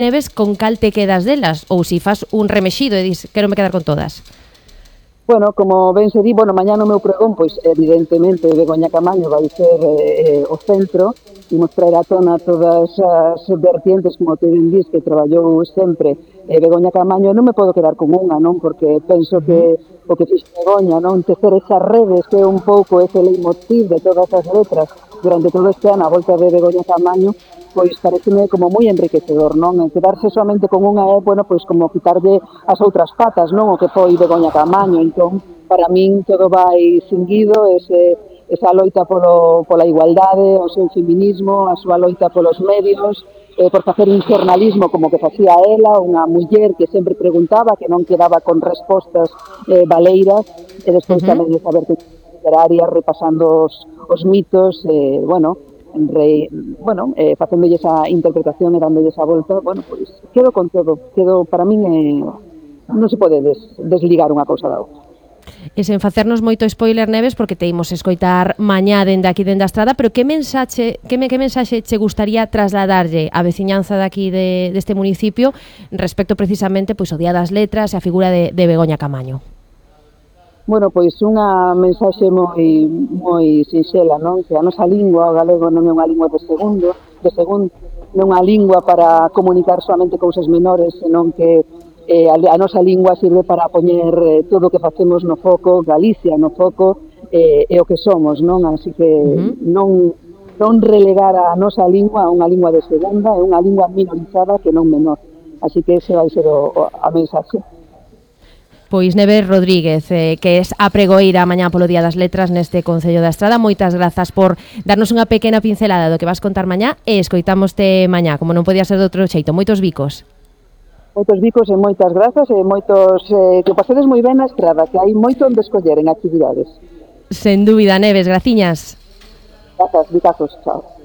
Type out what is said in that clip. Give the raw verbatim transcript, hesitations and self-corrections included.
Neves, con cal te quedas delas? Ou si fas un remexido e dis, quero me quedar con todas? Bueno, como ben se di, bueno, mañá no meu pregón, pois evidentemente Begoña Camaño vai ser eh, o centro, imos traer a tona todas as vertientes, como te ben dis, que traballou sempre eh, Begoña Camaño. Non me podo quedar con unha, non? Porque penso que o que fixo Begoña, non? Tecer esas redes que é un pouco ese leitmotiv de todas as letras durante todo este ano a volta de Begoña Camaño, pois pareceme como moi enriquecedor, non? E quedarse solamente con unha é, bueno, pois como quitarlle as outras patas, non? O que foi Begoña Camaño. Entón, para min todo vai seguido, ese, esa loita polo, pola igualdade, o seu feminismo, a súa loita polos medios, eh, por facer un xornalismo como que facía ela, unha muller que sempre preguntaba, que non quedaba con respostas eh, valeiras, e despois Uh-huh. tamén de saber que literaria, repasando os, os mitos, eh, bueno, Re, bueno, eh, facéndolle esa interpretación e dándolle esa volta, bueno, pois quedo con todo, quedo, para min eh, non se pode des, desligar unha cousa da outra. E sen facernos moito spoiler, Neves, porque te imos escoitar mañá dende aquí dende a estrada, pero que mensaxe, que, me, que mensaxe che gustaría trasladarlle á veciñanza daqui de, deste municipio respecto precisamente pois, o Día das Letras e a figura de, de Begoña Camaño? Bueno, pois unha mensaxe moi moi sinxela, non? Que a nosa lingua, o galego, non é unha lingua de segundo, de segundo, non é unha lingua para comunicar solamente cousas menores, senón que eh, a, a nosa lingua sirve para poñer eh, todo o que facemos no foco, Galicia no foco, eh, e o que somos, non? Así que Uh-huh. non non relegar a nosa lingua a unha lingua de segunda, é unha lingua minorizada que non menor. Así que ese vai ser o, o, a mensaxe. Pois Neves Rodríguez, eh, que es a pregoeira mañá polo Día das Letras neste Concello da Estrada. Moitas grazas por darnos unha pequena pincelada do que vas contar mañá e escoitámoste mañá, como non podía ser de outro xeito. Moitos bicos. Moitos bicos e moitas grazas e moitos eh, que pasedes moi ben na estrada, que hai moito onde escoller en actividades. Sen dúbida, Neves, graciñas. Grazas, bicazos, chao.